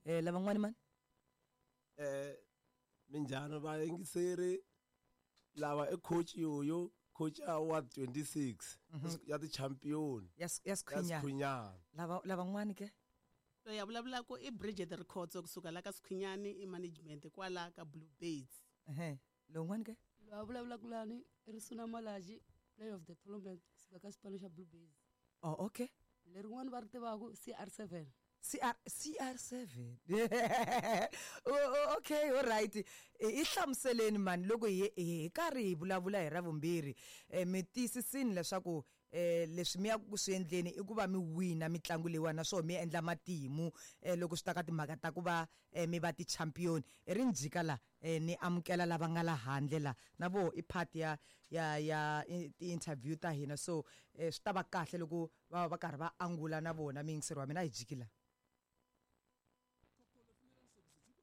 la. Lavan'wani mani? Minjhani vayingiseri? Lava i coach Yoyo, coach ya Ward 26 ya ti-champion. Ya Ya Sikhunyana. Sikhunyana. Lava lavan'wani ke? Loyi a vulavulaka i Bridget Rikhotso kusuka la ka Sikhunyani, i management kwala ka Blue Birds. Ehe. Lowun'wani ke? Loyi a vulavulaka lani i Risuna Malaji, player of the tournament kusuka ka xipano xa Blue Birds. Oh, okay. Lerin'wani va ri tivaka CR7. CR CR7. Oh, okay, all right. I hlamuseleni mani loko hi karhi hi vulavula hi ra vumbirhi. Mi tiyisisini leswaku leswi mi ya ku swi endleni i ku va mi wina mitlangu leyiwani, naswona mi endla matimu loko swi ta ka timhaka ta ku va mi va ti-champion. I ri njhika la ni amukela lava nga la handle la na voho i part ya ya ya ti-interview ta hina, so swi ta va kahle loko va va karhi va angula na vona. Miyingiseri wa mina, a hi jiki la.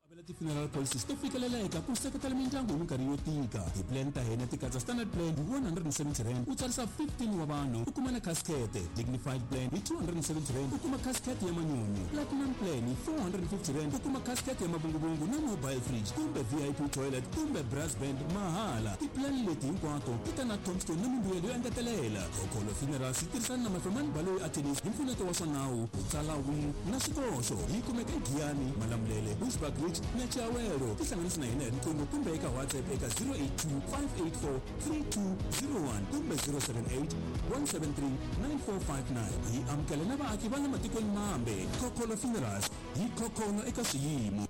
Avela ti-funeral policies to fikeleleka ku seketela mindyangu hi minkarhi yo tika. Ti-plan ta hina ti katsa standard plan hi 170 rand, u tsarisa 15 wa vanhu, u kuma na casket. Dignified plan hi 270 rand, u kuma casket ya manyunyu. Platinum plan hi 450 rand, u kuma casket ya mavunguvungu na mobile fridge kumbe VIP toilet kumbe brass band mahala. Ti-plan leti hinkwato ti ta na tombstone na mimbuyelo yo engetelela. Khokholo Funerals yi tirhisana na Mafemani Baloyi Attorneys hi mpfuneto wa swa nawu, ku tsala will na swikoxo. Yi kumeka eGiyani, Malamulele, Bushbuckridge na Chiawelo. Tihlanganisi na hina hi riqingho kumbe eka WhatsApp eka 082 584 3201 kumbe 078 173 9459. Hi amukela na vaaki va le matikweni mambe. Khokholo Funerals, hi khokholo eka swiyimo.